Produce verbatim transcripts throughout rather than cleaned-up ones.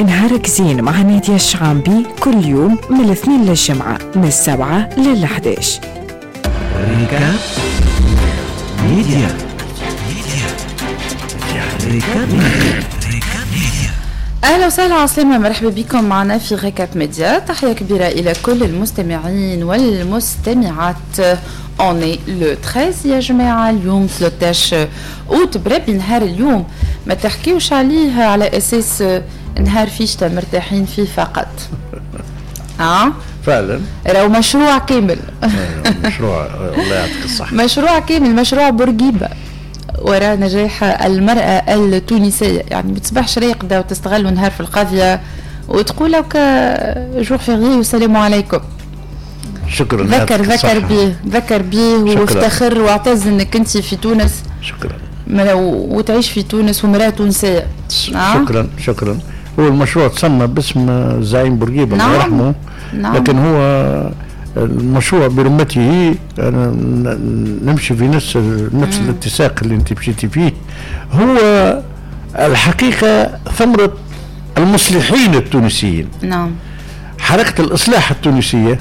نهارك زين مع نادية الشعامبي كل يوم من الاثنين للجمعة من السبعة للحداش. récap média، récap média. اهلا وسهلا، عسلامة، مرحبا بكم معنا في récap média. تحية كبيرة الى كل المستمعين والمستمعات. on est le treize يا جماعه، اليوم ثلاثة عشر اوت. بربي نهار اليوم ما تحكيوش عليه على اساس نهار فيشتا مرتاحين فيه فقط اه فعلا. راهو مشروع كامل. مشروع، الله يعطيك الصحة. مشروع كامل، مشروع بورقيبة وراء نجاح المرأة التونسية. يعني ما تصبحش راقدة وتستغلوا نهار في القضية وتقول لك jour férié والسلام عليكم. شكرا. ذكر ذكر به، ذكر به وافتخر واعتز انك انت في تونس. شكرا. وتعيش في تونس ومرأة تونسية. شكرا شكرا. هو المشروع تسمى باسم الزعيم بورقيبة، نعم، الله يرحمه، نعم. لكن هو المشروع برمته، أنا نمشي في نفس نفس الاتساق اللي انت مشيتي فيه، هو الحقيقة ثمره المصلحين التونسيين. نعم حركة الاصلاح التونسية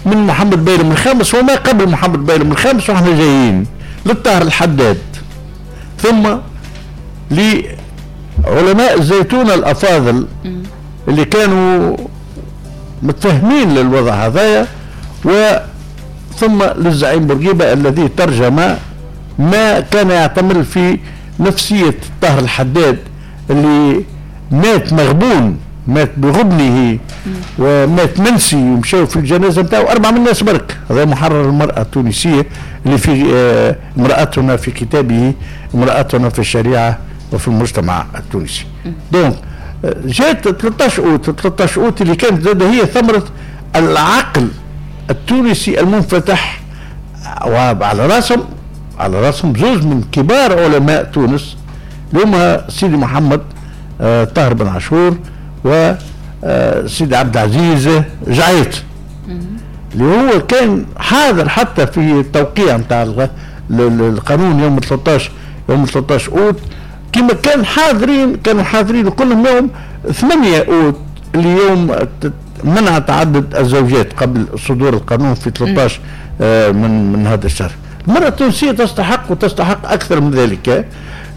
من محمد بيرم الخامس وما قبل محمد بيرم الخامس، واحنا جايين للطاهر الحداد، ثم لعلماء الزيتونة الأفاضل اللي كانوا متفهمين للوضع هذايا، وثم للزعيم بورقيبة الذي ترجم ما كان يعتمل في نفسية الطاهر الحداد اللي مات مغبون، مات بغبنه ومات منسي، ومشاو في الجنازة نتاعو اربعة من الناس برك. هذا محرر المراة التونسية اللي في آه، امراتنا في كتابه امراتنا في الشريعة وفي المجتمع التونسي. donc آه، جات ثلاثة عشر اوت، ثلاثة عشر اوت اللي كانت زاد هي ثمره العقل التونسي المنفتح، وعلى راسهم على راسهم زوز من كبار علماء تونس اللي هما سيدي محمد آه، طاهر بن عاشور وسيدي عبد العزيز جعيط، اللي هو كان حاضر حتى في التوقيع نتاع القانون يوم ثلاثة عشر يوم ثلاثة عشر اوت، كما كان حاضرين كانوا حاضرين كلهم يوم ثمانية اوت اللي يوم منع تعدد الزوجات قبل صدور القانون في ثلاثة عشر آه، من من هذا الشهر. المرأة التونسية تستحق وتستحق أكثر من ذلك.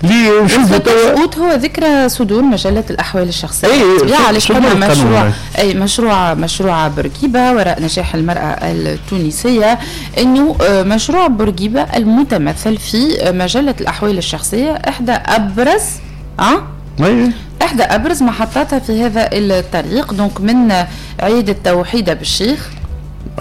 لنشوفوا توا اوت هو ذكرى صدور مجلة الأحوال الشخصية. أي علاش قلنا مشروع، أي مشروع مشروع بورقيبة وراء نجاح المرأة التونسية، أنه آه، مشروع بورقيبة المتمثل في مجلة الأحوال الشخصية إحدى أبرز أه؟ احدى ابرز محطاتها في هذا الطريق. donc من عيادة توحيدة بالشيخ.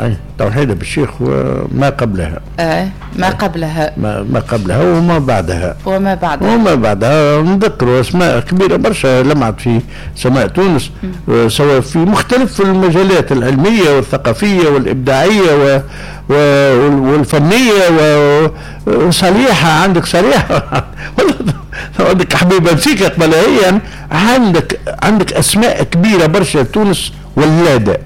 أي توحيدة بالشيخ وما قبلها. آه ما قبلها. ما, ما قبلها وما بعدها. وما بعدها. وما بعدها. نذكروا اسماء كبيرة برشا لمعت في سماء تونس، آه، سواء في مختلف المجالات العلمية والثقافية والابداعيه و والفنيه، وصليحه، عندك صليحه، عندك حبيبه مسيكه قبل هي، يعني عندك عندك اسماء كبيرة برشا. تونس ولاده،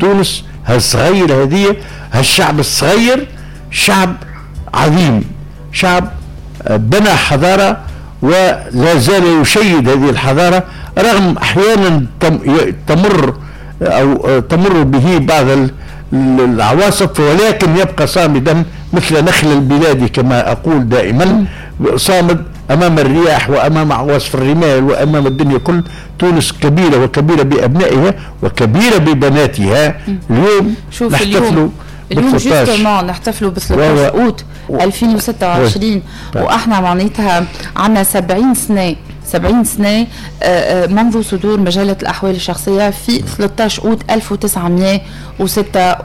تونس هالصغير هذه، هالشعب الصغير شعب عظيم، شعب بنى حضارة ولا زال يشيد هذه الحضارة رغم أحيانا تمر أو تمر به بعض العواصف، ولكن يبقى صامدا مثل نخل البلاد كما أقول دائما، صامد أمام الرياح وأمام عواصف الرمال وأمام الدنيا كل. تونس كبيرة وكبيرة بأبنائها وكبيرة ببناتها. اليوم شوف نحتفلوا اليوم justement نحتفلوا ب ثلاثة عشر اوت ألفين وستة وعشرين، واحنا معناتها عندنا سبعين سنه، سبعين سنة آه، آه، منذ صدور مجلة الأحوال الشخصية في ثلاثة عشر أوت ألف وتسعمية وستة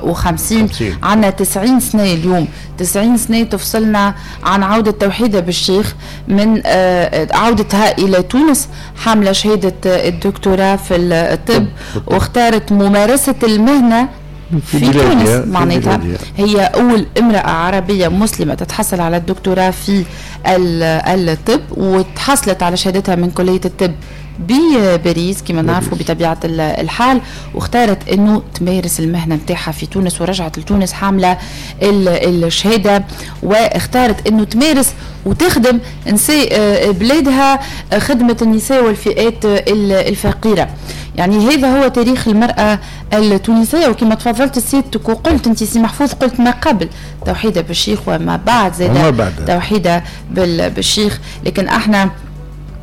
وخمسين. عندنا تسعين سنة اليوم، تسعين سنة تفصلنا عن عودة توحيدة بالشيخ من آه، عودتها إلى تونس حاملة شهادة الدكتوراه في الطب، واختارت ممارسة المهنة في, في تونس. معناتها هي أول امرأة عربية مسلمة تتحصل على الدكتوراه في الطب، وتحصلت على شهادتها من كلية الطب بباريس كما نعرفوا بطبيعة الحال، واختارت انه تمارس المهنة نتاعها في تونس ورجعت لتونس حاملة الشهادة، واختارت انه تمارس وتخدم نساء بلادها، خدمة النساء والفئات الفقيرة. يعني هذا هو تاريخ المرأة التونسية. وكما تفضلت سيادتك وقلت انت سي محفوظ، قلت ما قبل توحيدة بالشيخ وما بعد زاد توحيدة بالشيخ، لكن احنا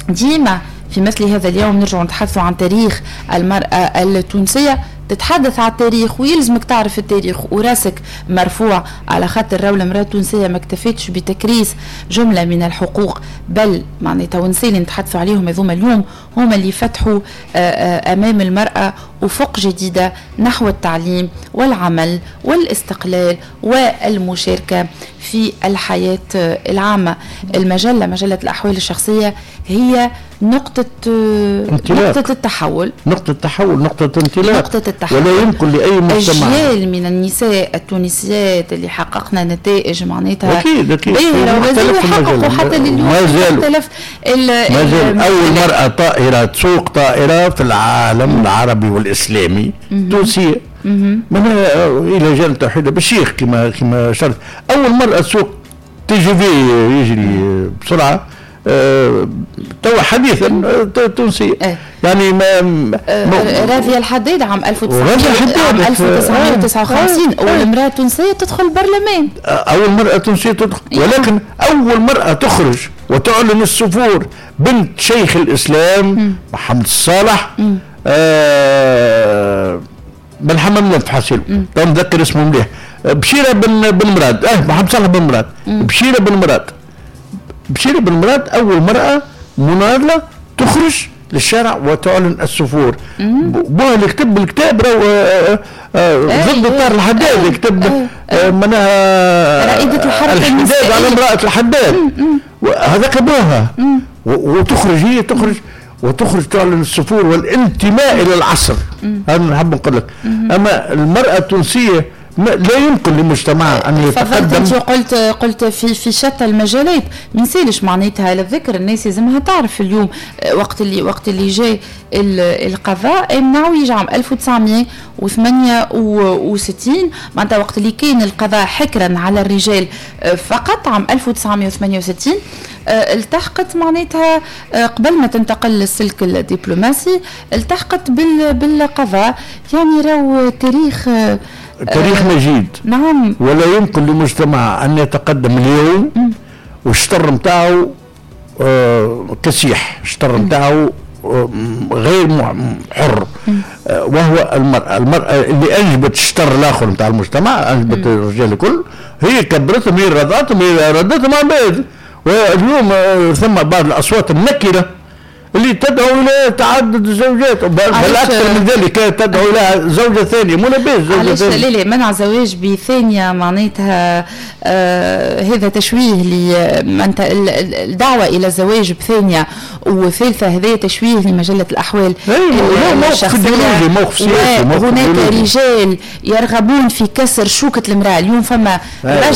ديما في مثل هذا اليوم نرجع نتحدث عن تاريخ المرأة التونسية. تتحدث على التاريخ ويلزمك تعرف التاريخ وراسك مرفوع، على خاطر راهو المرأة التونسية ما اكتفتش بتكريس جملة من الحقوق، بل معناتها ونساء اللي نتحدثوا عليهم هذوما اليوم هما اللي فتحوا أمام المرأة أفق جديدة نحو التعليم والعمل والاستقلال والمشاركة في الحياة العامة. المجلة مجلة الأحوال الشخصية هي نقطة نقطة التحول، نقطة التحول، نقطة انطلاق، نقطة التحول. ولا يمكن لأي مجتمع أجيال من النساء التونسيات اللي حققنا نتائج معناتها أكيد أكيد باهرة، وحققوا حتى لليوم مختلف. ما زال أول مرأة طائرة تسوق طائرة في العالم العربي والإسلامي تونسية، من إلى جانب توحيدة بالشيخ كما كما شرط. أول مرأة تسوق TGV يجري بسرعة أه توا حديثا تونسية. أه. يعني ما, ما راضية الحداد عام ألف وتسعمائة وتسعة وخمسين أول امرأة تونسية تدخل البرلمان، أول مرأة تونسية تدخل، ولكن أول مرأة تخرج وتعلن السفور بنت شيخ الإسلام محمد الصالح آه بن حمام لنف حاسيلو، تو نذكر اسمه مليح، بشيرة بن بن مراد، اه محمد صالح بن مراد، بشيرة بن مراد، بشيرة بن مراد أول مرأة مناضلة تخرج للشارع وتعلن السفور. بوها اللي كتب الكتاب راهو ضد الطار الحداد، كتب معناها رائدة الحركة الحداد على امرأة الحداد، هذاك بوها. وتخرج هي تخرج وتخرج تعلن السفور والانتماء إلى العصر. هذا نحب نقول لك. أما المرأة التونسية لا يمكن للمجتمع ان يتقدم. انت قلت قلت في في شتى المجالات، ما نسالش معناتها للذكر الناس لازمها تعرف اليوم وقت اللي وقت اللي جاء القضاء امنعوا عام ألف وتسعمائة وثمانية وستين، معناتها وقت اللي كان القضاء حكرا على الرجال فقط عام ألف وتسعمائة وثمانية وستين التحقت معناتها قبل ما تنتقل للسلك الدبلوماسي التحقت بالقضاء. يعني راهو تاريخ تاريخ مجيد. نعم. ولا يمكن لمجتمع أن يتقدم اليوم والشطر نتاعو آه كسيح، الشطر نتاعو آه غير حر، آه وهو المرأة. المرأة اللي أنجبت الشطر الآخر نتاع المجتمع، أنجبت الرجال الكل، هي كبرتهم، هي رضعتهم، هي ردتهم عن بعد. واليوم آه ثم بعض الأصوات النكرة اللي تدعو الى تعدد الزوجات، بل اكثر من ذلك تدعو الى زوجه ثانية. مو لاباس زوجه ثانية. لا لا، منع زواج بثانيه معناتها آه هذا تشويه ل الدعوة الى الزواج بثانيه وثالثه، هذا تشويه لمجله الاحوال الشخصية. موقف سياسي، وهناك رجال يرغبون في كسر شوكه المراة. اليوم فما